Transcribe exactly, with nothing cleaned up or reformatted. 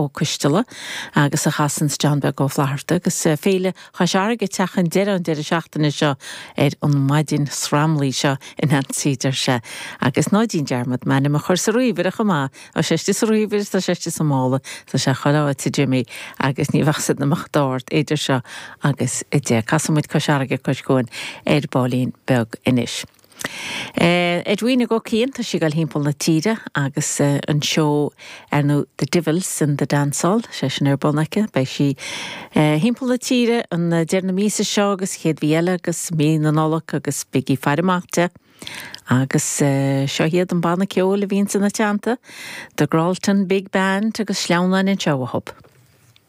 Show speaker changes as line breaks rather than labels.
Ó Coisteala agus a chasann John Beag Ó Flatharta agus eh, Féile Chois Fharraige teach an deireadh an deireadh seachtaine seo ar an maidin sramlaí seo in antíidir se agus ná déan dearmad m'ainm a chur sa ríomhaire chomh maith Tá sé sa ríomhaire tá sé sa mála tá sé choáte Jimmy agus ní bheadh na dord idir seo agus i de Casamid Cois Fharraige Cois Cuain ar baillín beag anois. Uh, Edwina go cían tá sí gal timpeall na tíre agus uh, an seó ar nó The Divils in the Dance Hall sé sin ar bun aici, beidh sí uh, timpeall na tíre an deireadh na míosa seo agus chéad mhí eile agus mí na Nollag agus bígí ag faire amach di. Agus uh, seo hiad an banna ceoil a bhíonn ina teannta, The Gralton Big Band agus sleamhnáin anseo a hub.